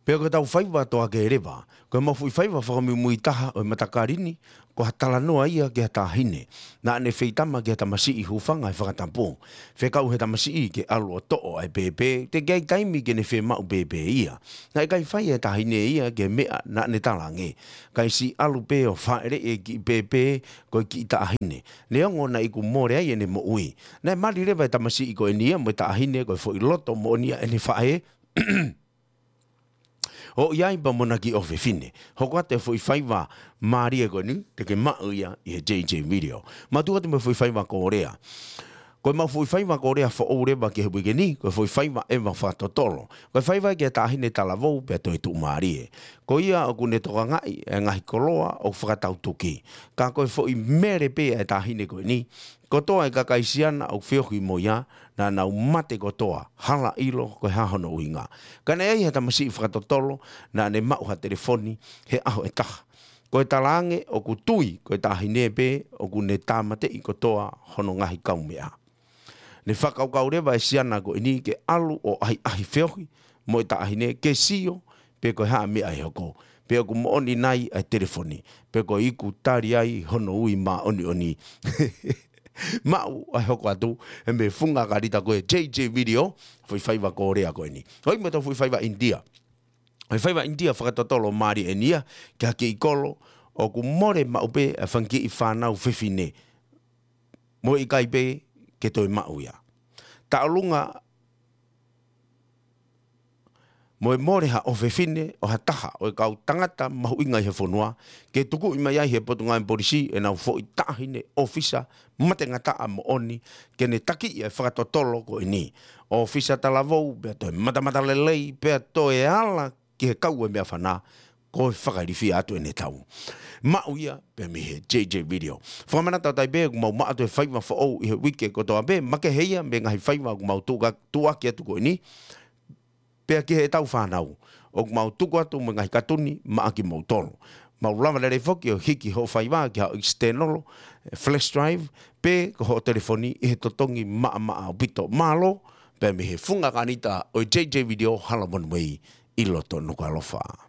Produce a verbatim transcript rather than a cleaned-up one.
Pea ko ʻetau faiva toʻa ke leva, ko ʻemau foʻi faiva fakamuimui taha ʻo e matakali ni, ko ha talanoa ia ki ha taʻahine naʻa ne feitama ki ha tamasiʻi hūfanga he fakatapu. Fekau he tamasiʻi ke ʻalu ʻo toʻo ʻa e pēpē, teʻeki ai taimi ke ne fiemaʻu pēpē ia. Naʻe ʻikai fai ʻe he taʻahine ia ki he meʻa naʻa ne talaange, kae siʻi ʻalu pē ʻo fāʻeleʻi e kiʻi pēpē ko e kiʻi taʻahine, neongo naʻe iku mole ai ʻene moʻui. Naʻe mali leva e tamasiʻi ko eni ia mo e taʻahine ko e foʻi loto moʻoni ia ʻene faʻē, ʻo ʻi ai pea mo ʻena kiʻi ʻofefine. Hoko atu e foʻi faiva mālie ko eni, te ke maʻu ia ʻi he J J Video. Mau tuku atu mo e foʻi faiva Kōlea. Ko ʻemau foʻi faiva Kōlea foʻou leva ki he uike ni, ko e foʻi faiva ʻeva fakatotolo. Ko e faiva ki he taʻahine talavou pea toe tuʻumālie. Ko ia ʻoku ne tokangaʻi e ngaahi koloa ʻoku fakatautuki. Ka ko e foʻi mele pē ʻa e taʻahine ko eni, kotoa e kakai Siana ʻoku feohi mo ia, naʻa nau mate kotoa, hala ʻilo ko e hā hono ʻuhinga. Ka naʻe ʻi ai ha tamasiʻi fakatotolo naʻa ne maʻu ha telefoni he ʻaho ʻe taha. Ko e talaange ʻoku tui ko e taʻahine pē ʻoku ne tāmateʻi kotoa hono ngaahi kaumeʻa. Ne fakakaukau leva e Siana ko eni ke ʻalu ʻo ʻahiʻahi feohi mo e taʻahine ke sio pe ko e hā e meʻa ʻe hoko, pe ʻoku moʻoni nai ʻa e telefoni, pe ko e iku tali ai hono ui māʻoniʻoni. Maʻu ʻa e hoko atu ʻe he funga kanita ko e J J Video, foʻi faiva Kōlea ko eni. ʻOi mo ʻetau foʻi faiva ʻInitia. Foʻi faiva ʻInitia fakatotolo mālie eni ia ki ha kiʻi kolo ʻoku mole maʻu pē ʻa e fanga kiʻi fānau fefine, mo e ʻikai pē ke toe maʻu ia. Taʻolunga mo e mole ha ʻofefine ʻo ha taha ʻo e kau tangata mahuʻinga ʻi he fonua, ke tukuʻi mai ai he Potungāue Polisi ʻenau foʻi taʻahine ʻōfisa matengataʻa moʻoni, ke ne takiʻi e fakatotolo ko eni. ʻOfisa talavou, pea toe matamatalelei, pea toe ala ki he kau e meʻafana, ko e fakailifia atu ʻene tau. Maʻu ia pē mei he J J Video. Fakamanatu atu ai pē ʻoku mau maʻu atu e faiva foʻou ʻi he uike kotoa pē, makehe ia mei he ngaahi faiva ʻoku mau tuka-, tuʻuaki atu ko eni, pea ki heʻetau fānau ʻoku mau tuku atu mo e ngaahi katuni maʻa kimoutolu. Mau lava lelei foki ʻo hiki hoʻo faiva ki ha external, flash drive, pe ko hoʻo telefoni ʻi he totongi maʻamaʻa ʻaupito. Mālō, pea mei he funga kanita ʻo e J J Video, hala monumei ʻi loto Nukuʻalofa.